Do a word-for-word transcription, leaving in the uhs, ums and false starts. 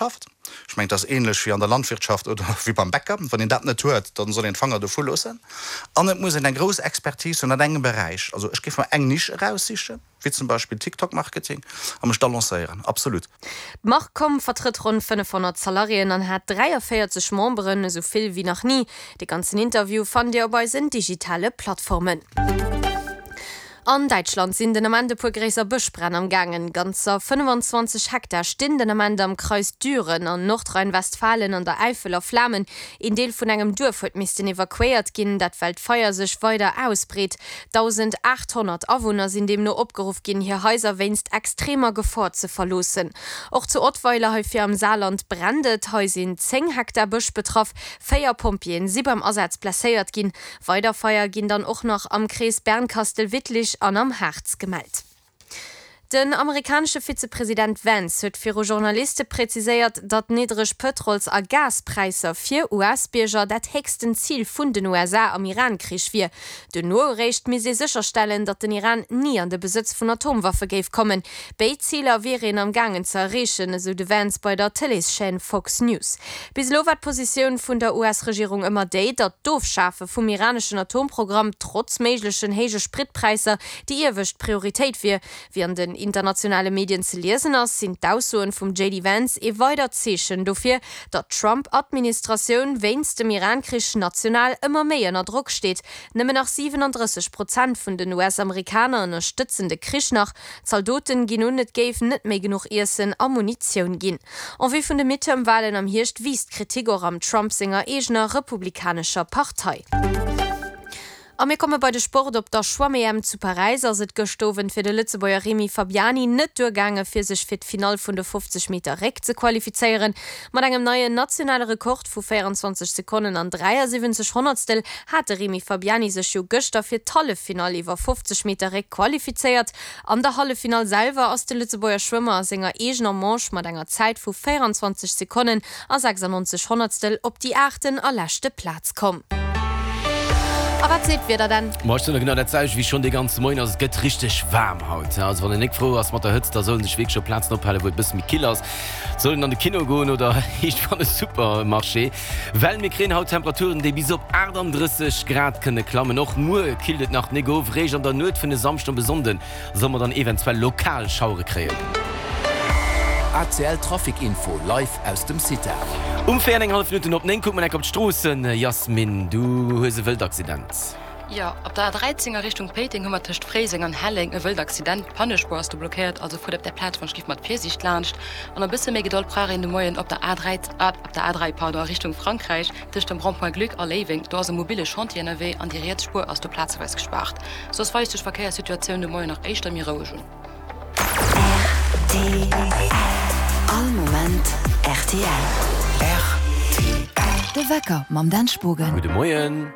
Ech mengen, dat ass ähnlech wéi an der Landwirtschaft oder wéi beim Bäcker, wann een dat net huet, dann soll een d'Fanger dovu loossen. An et muss een eng grouss Expertise hunn an engem Beräich. Also ech géif mer eng Nisch eraussichen, wéi zum Beispill TikTok-Marketing, a mech da lancéieren. Absolut. D'Marcom vertrëtt ronn fënnefhonnert Salariéen an hat dräiavéierzeg Memberen, esou vill wéi nach ni. De ganzen Interview fannt Dir op eisen digitale Plattformen. An Däitschland sinn den Ament e puer gréisser Bëschbränn am gaangen. Ganzer fënnefenzwanzeg Hektar stinn den Ament am Kreis Düren an Nordrhein-Westfalen an der Äifel a Flamen. Een Deel vun engem Duerf huet missten evakuéiert ginn, dat well d'Feier sech weider ausbreet. dausendachthonnert Awunner sinn deemno opgeruff ginn, hir Haiser wéinst extremer Gefor ze verloossen. Och zu Ottweiler hei vir am Saarland brennt et. Hei sinn zéng Hektar Bësch betraff. Véier Pompjeeën si beim Asaz blesséiert ginn. Weider Feier ginn dann och nach am Krees Bernkastel-Wittlich an am Harz gemellt. Den amerikanesche Vizepresident Vance huet viru Journaliste präziséiert, datt niddreg Pëtrols a Gaspräisser fir U S-Bierger dat héchsten Zil vun den U S A am Iran-Krich wier. Duerno eréischt misst ee sécherstellen, datt den Iran ni an de Besëtz vun Atomwaffe géif kommen. Béid Ziler wier een am gaangen ze erreechen, esou de Vance bei der Tëleeschaîne Fox News. Bis elo war d'Positioun vun der U S-Regierung ëmmer déi, datt d'Ofschafe vum iraneschen Atomprogramm trotz méiglechen héije Spritpräisser déi iewescht Prioritéit wier. Wéi an den internationale Medien ze liesen ass, sinn d'Aussoen vum J D Vance ee weidert Zeechen dofir, datt d'Trump-Administratioun wéinst dem Iran-Krich national ëmmer méi ënner Drock steet. Nëmmen nach siwenandrësseg Prozent vun den U S-Amerikaner ënnerstëtzen de Krich nach. Zaldoten ginn un, et géif net méi genuch Iessen a Munitioun ginn. En vue vun de Midterm-Walen am Hierscht wiisst d'Kritik och am Trump senger eegener republikanescher Partei. A mir komme bei de Sport. Op der Schwamm-E M zu Paräis ass et gëscht Owend fir de Lëtzebuerger Remy Fabiani net duergaange fir sech fir d'Finall vun de fofzeg Meter Réck ze qualifizéieren. Mat engem neien nationale Rekord vu véierenzwanzeg Sekonnen an dräiasiwwenzeg Honnertstel hat de Remy Fabiani sech jo gëschter fir d'Halleffinall iwwer fofzeg Meter Réck qualifizéiert. An der Halleffinall selwer ass de Lëtzebuerger Schwëmmer a senger eegener Manche mat enger Zäit vu véierenzwanzeg Sekonnen a sechsannonzeg Honnertstel op déi aachten a leschte Plaz komm. A wat seet d'Wieder denn? Ma ech soen der genau dat selwecht wéi schonn dee ganze Moien, also et gëtt richteg waarm haut. Also wann een nik frou ass mat der Hëtzt, da soll en sech wierklech op Plazen ophalen, wou et bësse méi kill ass. Soll en an de Kino goen oder iergendwann e Supermarché, well mir kréien haut Temperaturen, déi bis op achtandrësseg Grad kënne klammen. Och muer killt et nach nik of, réischt an der Nuet vun e Samschden op e Sonnden solle mer dann eventuell lokal Schauere kréien. A C L Trafic Info live aus dem CITA. Um véier an eng hallef Minutten op néng kucke mer enk op d'Stroossen. Jasmin, du hues e Wëldaccident. Jo, op der A dräizéng a Richtung Péiteng hu mer tëscht Fréiseng an Helleng e Wëldaccident. D'Pannespuer ass do blockéiert, also fuert op där Plaz wann ech giff mat Virsiicht laanscht. An e bësse méi Gedold brauch een de Moien op der A dräi, op der A dräi, pardon, a Richtung Frankräich tëscht dem Rond-point Gluck a Léiweng. Do ass e mobile Chantier ënnerwee an déi riets Spuer ass do plazeweis gespaart. Soss weist sech d'Verkéierssituatioun de Moien nach éischter méi roueg un. R T L. All Moment R T L. R T L. De Wecker mam Dan Spogen. Gudde Moien.